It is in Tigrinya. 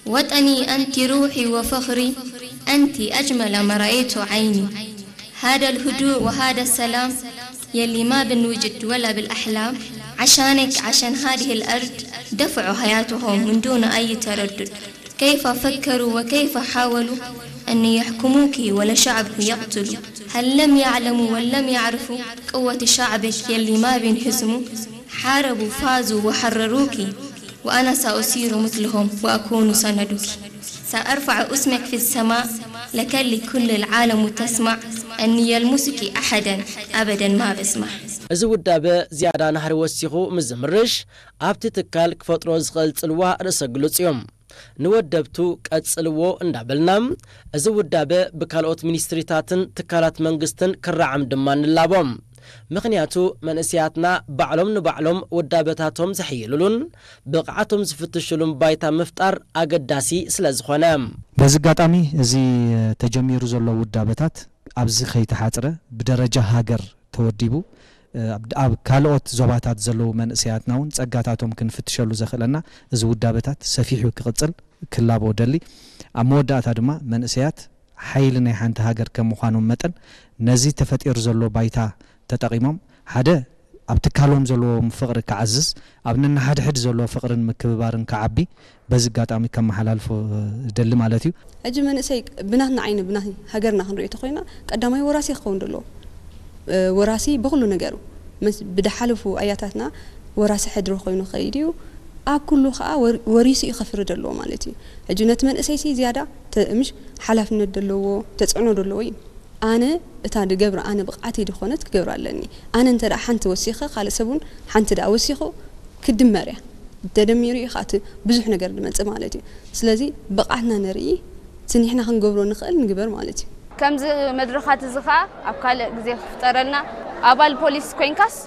وطني أنت روحي وفخري، أنت أجمل ما رأيت عيني. هذا الهدوء وهذا السلام يلي ما بنوجد ولا بالأحلام، عشانك، عشان هذه الأرض دفعوا حياتهم من دون أي تردد. كيف فكروا وكيف حاولوا أن يحكموك ولشعبك يقتلوا؟ هل لم يعلموا ولم يعرفوا قوة شعبك يلي ما بينهزموا؟ حاربوا، فازوا وحرروك، وأنا سأصير مثلهم وأكون سندك. سأرفع اسمك في السماء لكل العالم تسمع أني يلمسك أحدا أبدا ما بسمح. እዚ ውዳበ ዝያዳ ናህሪ ወሲኹ ምስ ዝምርሽ ኣብቲ ትካል ክፈጥሮ ዝኽእል ጽልዋ ርእሰ ግሉጽ እዩ። ንወደብቱ ቀጽልዎ እንዳበልና፣ እዚ ውዳበ ብካልኦት ሚኒስትሪታትን ትካላት መንግስትን ክረዓም ድማ ንላቦ። ምኽንያቱ መንእሰያትና ባዕሎም ንባዕሎም ውዳበታቶም ዘሕይልሉን ብቕዓቶም ዝፍትሽሉን ባይታ ምፍጣር ኣገዳሲ ስለ ዝኾነ። በዚ ኣጋጣሚ እዚ ተጀሚሩ ዘሎ ውዳበታት ኣብዚ ከይተሓጽረ ብደረጃ ሃገር ተወዲቡ ኣብ ካልኦት ዞባታት ዘለዉ መንእሰያትና እውን ጸጋታቶም ክንፍትሸሉ ዘኽእለና እዚ ውዳበታት ሰፊሑ ክቕጽል ክላቦ ደሊ። ኣብ መወዳእታ ድማ መንእሰያት ሓይሊ ናይ ሓንቲ ሃገር ከም ምዃኖም መጠን ነዚ ተፈጢሩ ዘሎ ባይታ ተጠቒሞም ሓደ ኣብ ትካሎም ዘለዎም ፍቕሪ ክዓዝዝ ኣብ ነንሓድሕድ ዘሎ ፍቕርን ምክብባርን ክዓቢ በዚ ኣጋጣሚ ከመሓላልፎ ደሊ ማለት እዩ። ሕጂ መንእሰይ ብናትና ዓይኒ ብናይ ሃገርና ክንሪኦ ተኾይና ቀዳማይ ወራሲ ክኸውን ደለዎ። ወራሲ ብኹሉ ነገሩ ምስ ብድሓለፉ ኣያታትና ወራሲ ሕድሪ ኮይኑ ከይድ እዩ። ኣብ ኩሉ ከዓ ወር- ወሪሱ እዩ ከፍሪ ደለዎ ማለት እዩ። ሕጂ ነቲ መንእሰይ ሲ ዝያዳ ተ- ምሽ ሓላፍነት ደለዎ ተፅዕኖ ደለዎ እዩ። ኣነ እታ ድገብራ ኣነ ብቕዓተይ ድኾነት ክገብራ ኣለኒ። ኣነ እንተ ደኣ ሓንቲ ወሲኸ ካልእ ሰብ እውን ሓንቲ ደኣ ወሲኹ ክድመር እያ። ተደሚሩ እዩ ከዓ እቲ ብዙሕ ነገር ድመፅእ ማለት እዩ። ስለዚ ብቕዓትና ነርኢ፣ እቲ ንሕና ክንገብሮ ንኽእል ንግበር ማለት እዩ። ከምዚ መድረኻት እዚ ኸዓ ኣብ ካልእ ግዜ ክፍጠረልና። ኣባል ፖሊስ ኮይንካስ